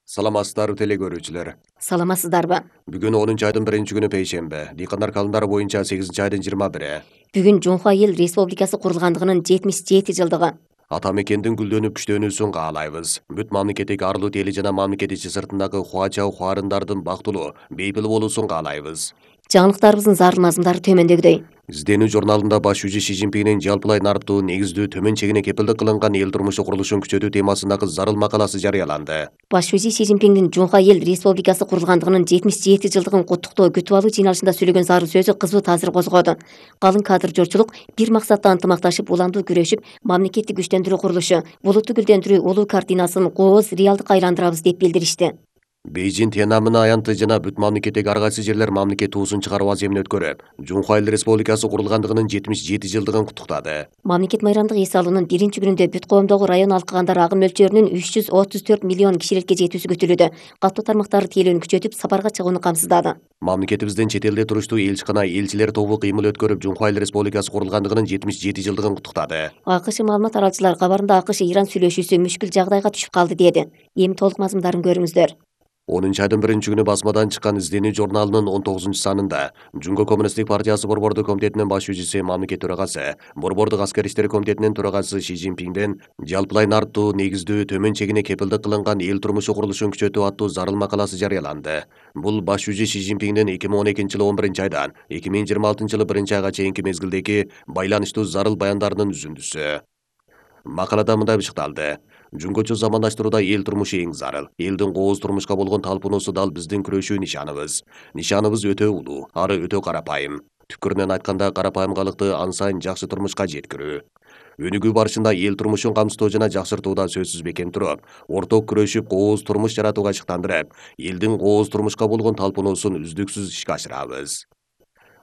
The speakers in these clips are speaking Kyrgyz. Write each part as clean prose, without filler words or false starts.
Саламатсыздарбы теле көрүүчүлөр. Саламатсыздарбы? Бүгүн 10-айдын 1-күнү пейшембе. Дыйкандар календарı боюнча 8-айдын 21. Бүгүн Жумха Эл Республикасы курулгандыгынын 77 жылдыгы. Ата мекендин гүлдөнүп күчтөнүүсүн каалайбыз. Бүт мамлекеттик арлуу тели жана мамлекет ичи сыртындагы хуача ухаарындардын бактылуу, бейпил болуусун каалайбыз. Жаңылыктарыбыздын зарыл мазмундары төмөндөгүдөй. Изденүү журналында баш жүзү Си Цзиньпиндин жалпылай нарыктуу, негиздүү, төмөн чегине кепилдик кылынган эл турмушу курулушун күчөтүү темасындагы зарыл макаласы жарыяланды. Баш жүзү Си Цзиньпиндин Жумха Эл Республикасы курулгандыгынын 77 жылдыгын куттуктоо күтүп алуу жыйналышында сөйлөгөн зарыл сөзү кызуу таасир козгоду. Калың кадр журчулук бир максатта ынтымакташып, уламдуу күрөшүп, мамлекетти күчтөндүрүү курулушу, булутту гүлдөндүрүү улуу картинасын кооз реалдыкка айландырабыз деп билдиришти. Бейжин Тяньаньмэн аянты жана бүт мамлекеттеги ар кайсы жерлер мамлекет туусун чыгаруу аземин өткөрүп, Жумха Эл Республикасы курулгандыгынын 77 жылдыгын куттуктады. Мамлекет майрамдык эс алуунун биринчи күнүндө бүт коомдогу район алкыгандары агым мөлчөрүнүн 334 миллион кишилекке жетүүсү күтүлүүдө. Каттуу тармактарды тейлөөнү күчөтүп, сапарга чыгууну камсыздады. Мамлекетибиздин чет элде туруштуу элчикана элчилер тобу кыймыл өткөрүп, Жумха Эл Республикасы курулгандыгынын 77 жылдыгын куттуктады. АКШ маалымат таратуучулар кабарында АКШ Иран сүйлөшүүсү мүшкүл жагдайга түшүп калды деди. Эми толук мазмундарын көрүңүздөр. 10-айдын 1-күнү басмадан чыккан изденүү журналынын 19-санында Жунго Коммунисттик партиясы борбордук комитетинин баш жүзүсү, мамлекет төрагасы, борбордук аскер иштери комитетинин төрагасы Си Цзиньпиндин жалпылай нарыктуу, негиздүү, төмөн чегине кепилдик кылынган эл турмушу курулушун күчөтүү аттуу зарыл макаласы жарыяланды. Бул баш жүзү Си Цзиньпиндин 2012-жылы 11-айдан 2026-жылы 1-айга чейинки мезгилдеги байланыштуу зарыл баяндарынын үзүндүсү. Макалада мындай бышыкталды: Жунгочу замандаштырууда эл турмушу эң зарыл. Элдин кооз турмушка болгон талпуунусу дал биздин күрөшүү нишаныбыз. Нишаныбыз өтө улуу, ары өтө карапайым. Түпкүрүнөн айтканда, карапайымгалыкты ан сайын жакшы турмушка жеткирүү. Өнүгүү барышында эл турмушун камсыздоо жана жакшыртууда сөзсүз бекем туруп, орток күрөшүп, кооз турмуш жаратууга ышыктандырып, элдин кооз турмушка болгон талпуунусун үздүксүз ишке ашырабыз.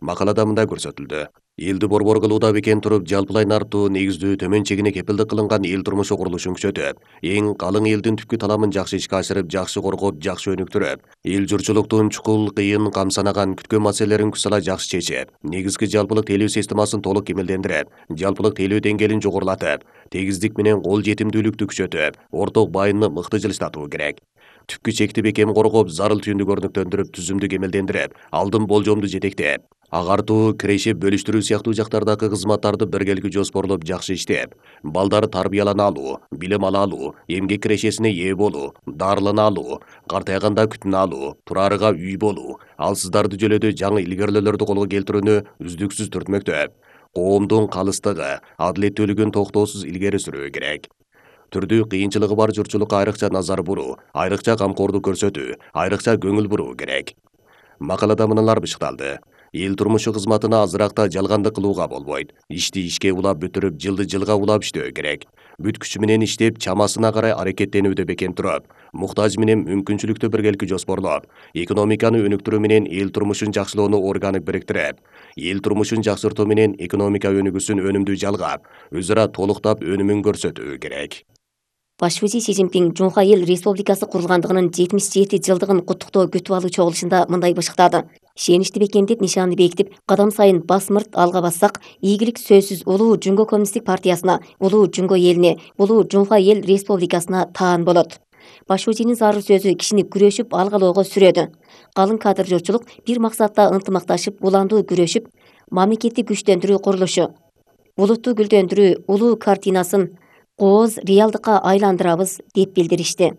Макалада мындай көрсөтүлдү: элди борбор кылууда бекем туруп, жалпылай нарыктуу, негиздүү, төмөн чегине кепилдик кылынган эл турмушу курулушун күчөтүп, эң калың элдин түпкү таламын жакшы ишке ашырып, жакшы коргоп, жакшы өнүктүрүп, эл журчулуктун чукул, кыйын, камсанаган, күткөн маселелерин күч сала жакшы чечип, негизги жалпылык тейлөө системасын толук кемелдендирип, жалпылык тейлөө деңгээлин жогорулатып, тегиздик менен кол жетимдүүлүктү күчөтүп, орток байынны мыкты жылыштатуу керек. Түпкү чекти бекем коргоп, зарыл түйүндү көрнөктөндүрүп, түзүмдү кемелдендирип, алдын болжомду жетектеп, агартуу, кирешип, бөлүштүрүү сыяктуу жактардагы кызматтарды биргеликти жоспорлоп, жакшы иштеп, балдар тарбиялана алуу, билим ала алуу, эмгек кирешесине ээ болуу, дарылана алуу, картайганда күтүнө алуу, турарыга үй болуу, алсыздарды жөлөдө жаңы илгерилөөлөрдү колго келтирүүнү үздүксүз түртмөктөп, коомдун калыстыгы, адилеттүүлүгүн токтоосуз илгери сүрүү керек. Түрдүү кыйынчылыгы бар журтчулукка айрыкча назар буруу, айрыкча камкордук көрсөтүү, айрыкча көңүл буруу керек. Макалада мыналар бышыкталды: эл турмушу кызматына азыракта жалгандык кылууга болбойт. Ишти ишке улап бүтүрүп, жылды жылга улап иштөө керек. Бүт күчү менен иштеп, чамасына карай аракеттенүүдө бекем туруп, муктаж менен мүмкүнчүлүктү биргеликти жоспорлоп, экономиканы өнүктүрүү менен эл турмушун жакшылоону органик бириктирип, эл турмушун жакшыртуу менен экономика өнүгүүсүн өнүмдүү жалгап, өз ара толуктап өнүмүн көрсөтүү керек. Баш жүзү Си Цзиньпин Жумха Эл Республикасы курулгандыгынын 77 жылдыгын куттуктоо күтүп алуу чогулушунда мындай бышыктады: ишеничти бекемдеп, нишаанды бекитип, кадам сайын басмырт алга бассак, ийгилик сөзсүз улуу Жунго Коммунисттик партиясына, улуу Жунго элине, улуу Жумха Эл Республикасына таан болот. Баш жүзүнүн зарыл сөзү кишини күрөшүп, алгалоого сүрөдү. Калың кадр журчулук бир максатта ынтымакташып, уламдуу күрөшүп, мамлекетти күчтөндүрүү курулушу, булутту гүлдөндүрүү улуу картинасын кооз реалдыкка айландырабыз деп билдиришти.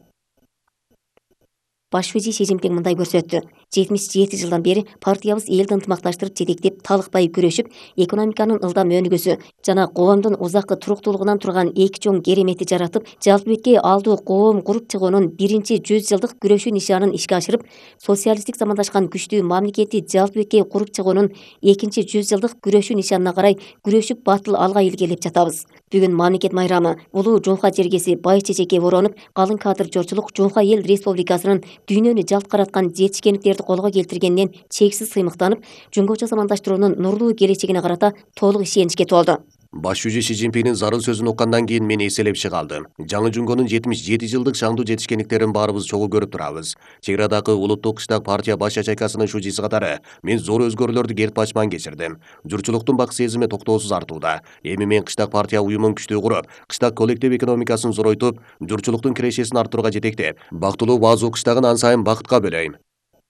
Баш жүзү Си Цзиньпин мындай көрсөттү: 77 жылдан бери партиябыз элди ынтымакташтырып, жетектеп, талыкпай күрөшүп, экономиканын ылдам өнүгүүсү жана коомдун узаккы туруктуулугунан турган эки чоң кереметти жаратып, жалпы бетке алдуу коом куруп чыгуунун биринчи 100 жылдык күрөшүү нишанын ишке ашырып, социалисттик замандашкан күчтүү мамлекетти жалпы бетке куруп чыгуунун экинчи 100 жылдык күрөшүү нишанына карай күрөшүп, батыл алга илгерилеп жатабыз. Бүгүн мамлекет майрамы, улуу Жумха жергеси бай чечекке бороонуп, калың кадр журчулук Жумха Эл Республикасынын дүйнөнү жалт караткан жетишкендиктерди колго келтиргенден чексиз сыймыктанып, жунгочо замандаштыруунун нурлуу келечегине карата толук ишеничке толду. Баш жүзү Си Цзиньпиндин зарыл сөзүн уккандан кийин мен эселеп чыга алдым. Жаңы Жунгонун 77 жылдык шаңдуу жетишкендиктерин баарыбыз чогуу көрүп турабыз. Чек Арадагы улуттук кыштак партия баш ячейкасынын шужиси катары мен зор өзгөрүүлөрдү керт бачман кечирдим. Журтчулуктун бак сезими токтоосуз артууда. Эми мен кыштак партия уюмун күчтүү куруп, кыштак коллектив экономикасын зоройтуп, журтчулуктун кирешесин арттырууга жетектеп, бактылуу базу кыштагын ан сайын бакытка бөлөйм.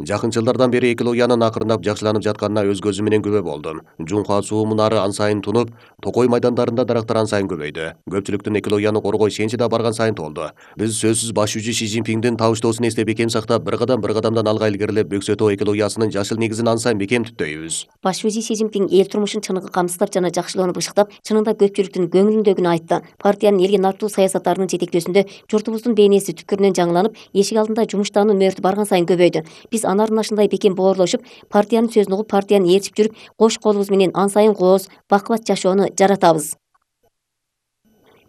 Жакын жылдардан бери экологиянын акырындап жакшыланып жатканына өз көзүм менен күбө болдум. Жунхуа суу мунары ан сайын тунуп, Токой майдандарында дарактар ан сайын көбөйдү. Көпчүлүктүн экологияны коргоо ишеничи да барган сайын толду. Биз сөзсүз баш жүзү Си Цзиньпиндин табыштоосун эстеп бекем сактап, бир кадамдан алга илгерилеп, Бөксөтөө экологиясынын жашыл негизин ан сайын бекем түптөйбүз. Баш жүзү Си Цзиньпин эл турмушун чыныгы камсыздап жана жакшылоону бышыктап, чынында көпчүлүктүн көңүлүндөгүнү айтты. Партиянын элге нартуу саясаттарынын жетектөөсүндө журтубуздун бейнеси түпкүрүнөн жаңыланып, эшик алдында жумуштануу мөөнөтү барган сайын көбөйдү. Биз анарын ашындай бекем боорлошуп, партиянын сөзүн угуп, партияны ээрчип жүрүп, кош колубуз менен ан сайын кооз, бакубат жашоону жаратабыз.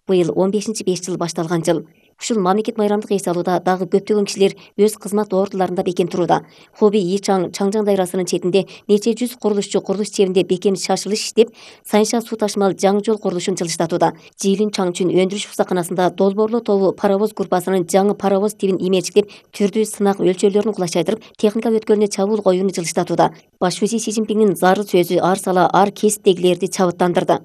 Быйыл 15-5 жыл башталган жыл. Ушул мамлекет майрамдык эс алууда дагы көптөгөн кишилер өз кызмат ордуларында бекем турууда. Хоби Ичаң Чаңжаң дайрасынын четинде нече жүз курулушчу курулуш чебинде бекем шашылыш иштеп, Сайынша суу ташмал жаңы жол курулушун жылыштатууда. Жиилин Чаңчүн өндүрүш усаканасында долбоорлуу тобу паровоз группасынын жаңы паровоз тибин имечиктеп, түрдүү сынак өлчөөлөрүн кулачайдырып, техника өткөлүнө чабуул коюуну жылыштатууда. Баш жүзү Си Цзиньпиндин зарыл сөзү ар сала ар кесиптегилерди чабыттандырды.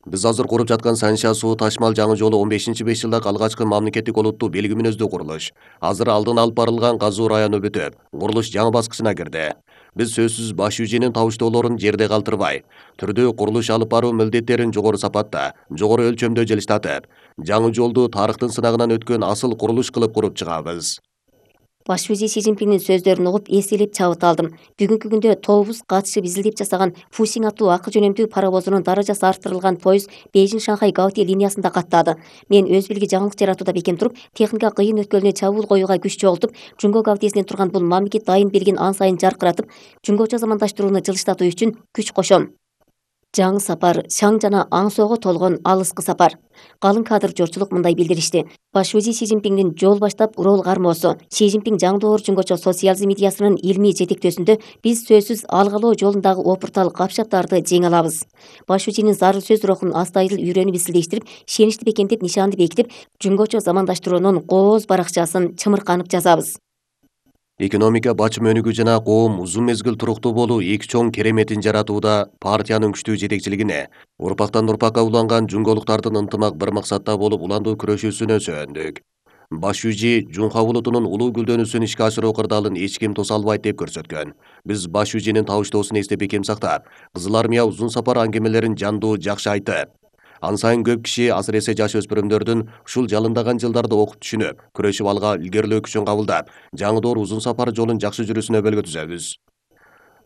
Биз азыр куруп жаткан Сайынша суу ташмал жаңы жолу 15-5 жылдык алгачкы мамлекеттик олуттуу белги мүнөздүү курулуш. Азыр алдын алып барылган казуу району бүтүп, курулуш жаңы баскычына кирди. Биз сөзсүз баш жүзүнүн табыштоолорун жерде калтырбай, түрдүү курулуш алып баруу милдеттерин жогору сапатта, жогору өлчөмдө жылыштатып, жаңы жолду тарыхтын сынагынан өткөн асыл курулуш кылып куруп чыгабыз. Баш жүзү Си Цзиньпиндин сөздөрүн угуп эселеп чабыт алдым. Бүгүнкү күндө тобубуз катышып изилдеп жасаган Фусиң аттуу акы жөнөмдүү паровозунун даражасы арттырылган поезд Бейжиң-Шанхай Гаути линиясында каттады. Мен өз билги жаңылык жаратууда бекем туруп, техника кыйын өткөлүнө чабуул коюуга күч чогултуп, Жунго Гаутисинен турган бул мамлекет дайын белгин ан сайын жаркыратып, Жунгочо замандаштырууну жылыштатуу үчүн күч кошом. Жаңы сапар, шаң жана аңсоого толгон алыскы сапар. Калың кадр жортчулук мындай билдиришти. Баш жүзү Си Цзиньпиндин жол баштап рол кармоосу, Си Цзиньпин жаңдоор Жунгочо социализм идеясынын илмий жетектөөсүндө биз сөзсүз алгалоо жолундагы опуртал капшаптарды жеңе алабыз. Баш жүзүнүн зарыл сөз рухун астайыл үйрөнүп изилдештирип, ишеничти бекемдеп, нишанды бекитип, Жунгочо замандаштыруунун кооз баракчасын чымырканып жазабыз. Экономика бачым өнүгүү жана коом узун мезгил туруктуу болуу эки чоң кереметин жаратууда партиянын күчтүү жетекчилигине, урпактан урпакка уланган жунголуктардын ынтымак бир максатта болуп уландуу күрөшүүсүнө сүйөндүк. Баш жүзү Жунха улутунун улуу гүлдөнүүсүн ишке ашыруу кырдаалын эч ким тоса албайт деп көрсөткөн. Биз баш жүзүнүн табыштоосун эстеп бекем сактап, Кызыл армия узун сапар аңгемелерин жандуу жакшы айтып, ан сайын көп киши, асыресе жаш өспүрүмдөрдүн ушул жалындаган жылдарды окуп түшүнүп, күрөшүп алга илгерилөө күчүн кабылдап, жаңы узун сапар жолун жакшы жүрүүсүнө өбөлгө түзөбүз.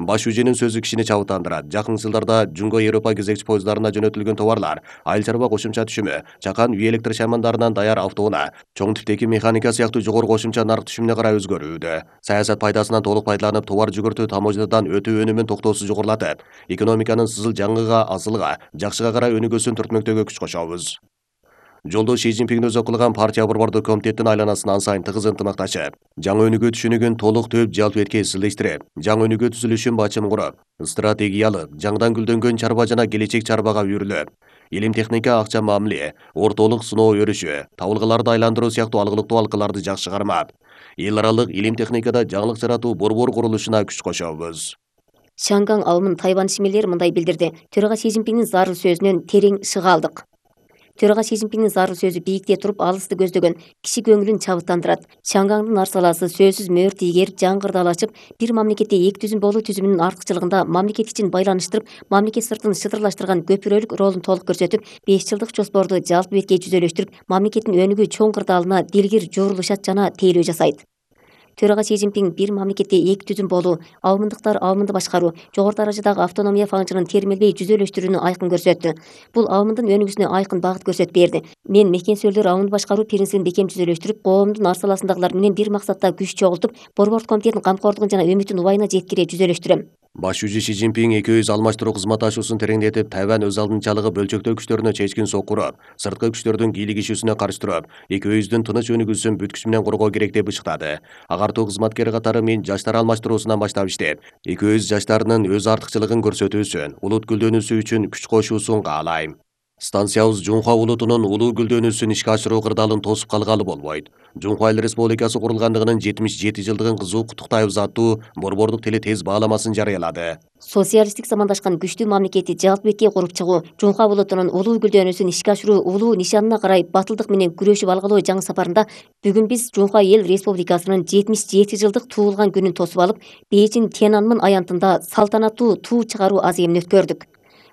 Баш жүзүнүн сөзү кишини чабыттандырат. Жакын жылдарда Жунго Европа кезекчи поезддарына жөнөтүлгөн товарлар, айыл чарба кошумча түшүмү, чакан үй электр шаймандарынан даяр автоунаа, чоң типтеги механика сыяктуу жогору кошумча нарк түшүмүнө карай өзгөрүүдө. Саясат пайдасынан толук пайдаланып, товар жүгүртүү таможнядан өтүү өнүмүн токтоосуз жогорулатып, экономиканын сызыл жаңыга, асылга, жакшыга карай өнүгүүсүн түртмөктөөгө күч кошобуз. Жолдо Си Цзиньпин өзү кылган партия борбордук комитеттин айланасына ан сайын тыгыз ынтымакташып, жаңы өнүгүү түшүнүгүн толук төп жалпетке исилдештирип, жаңы өнүгүү түзүлүшүн бачым куруп, стратегиялык, жаңыдан гүлдөнгөн чарба жана келечек чарбага үйрүлүп, илим техника, акча мамиле, ортолук сыноо өрүшү, табылгаларды айландыруу сыяктуу алгылыктуу алкаларды жакшы кармап, эл аралык илим техникада жаңылык жаратуу борбор курулушуна күч кошобуз. Шанган алымын Тайвань ишмерлери мындай билдирди. Төрага Си Цзиньпиндин зарыл сөзүнөн терең шыга алдык. Төрага Си Цзиньпиндин зарыл сөзү бийикте туруп алысты көздөгөн, киши көңүлүн чабыттандырат. Шангаңдын арсаласы сөзсүз мөөр тийгерип, жаңгырдал ачып, бир мамлекетте эки түзүм болуу түзүмүнүн артыкчылыгында мамлекет ичин байланыштырып, мамлекет сыртын шытырлаштырган көпүрөлүк ролун толук көрсөтүп, 5 жылдык жоспорду жалпы бетке жүзөлөштүрүп, мамлекеттин өнүгүү чоң кырдаалына дилгир журулушат жана тейлөө жасайт. Төрага Си Цзиньпин бир мамлекетте эки түзүм болуу, аумындыктар аумынды башкаруу, жогору даражадагы автономия фаңжырын термелбей жүзөлөштүрүүнү айкын көрсөттү. Бул аумындын өнүгүүсүнө айкын багыт көрсөтүп берди. Мен мекенсөөлдөр аумунду башкаруу принцибин бекем жүзөлөштүрүп, коомдун арсаласындагылар менен бир максатта күч чогултуп, борбордук комитеттин камкордугун жана үмүтүн убайына жеткире жүзөлөштүрөм. Баш жүзү Си Цзиньпин экөөбүз алмаштыруу кызматташуусун тереңдетип, Тайвань өз алдынчалыгы бөлчөктөө күчтөрүнө чечкин сокуруп, сырткы күчтөрдүн кийлигишүүсүнө каршы туруп, экөөбүздүн тыныч өнүгүүсүн бүт күч менен коргоо керек деп ышыктады. Агартуу кызматкери катары мен жаштар алмаштыруусунан баштап иштеп, экөөбүз жаштарынын өз артыкчылыгын көрсөтүүсүн, улут гүлдөнүүсү үчүн күч кошуусун каалайм. Станциябыз Жунхва улутунун улуу гүлдөнүүсүн ишке ашыруу кырдаалын тосуп калгалы болбойт. Жунхва Эл Республикасы курулгандыгынын 77 жылдыгын кызуу куттуктайбыз аттуу борбордук теле тез бааламасын жарыялады. Социалисттик замандашкан күчтүү мамлекетти жалпы бетке куруп чыгуу, Жунхва улутунун улуу гүлдөнүүсүн ишке ашыруу улуу нишанына карай батылдык менен күрөшүп алгалоо жаңы сапарында бүгүн биз Жунхва Эл Республикасынын 77 жылдык туулган күнүн тосуп алып, Бейжиң Тяньанмын аянтында салтанаттуу туу чыгаруу аземин өткөрдүк.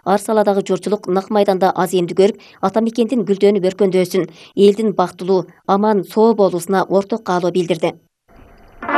Ар саладагы журтчулук нак майданда аземди көрүп, ата мекендин гүлдөнүп өркөндөсүн, элдин бактылуу, аман, соо болуусуна орток каалоо билдирди.